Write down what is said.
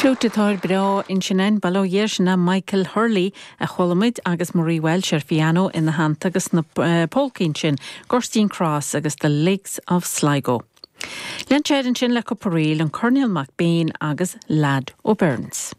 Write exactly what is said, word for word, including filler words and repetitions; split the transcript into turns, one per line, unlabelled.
Fliúit breá ansin bail ó Dhia air sin Michael Hurley a chuala muid agus Marie Welsh ar piano ina theannta agus na uh, polcaí sin Gurteen Cross agus the Lakes of Sligo. Lean sé ansin le cúpla ríl an Coirnéal Mac Bane agus Lad O'Burns.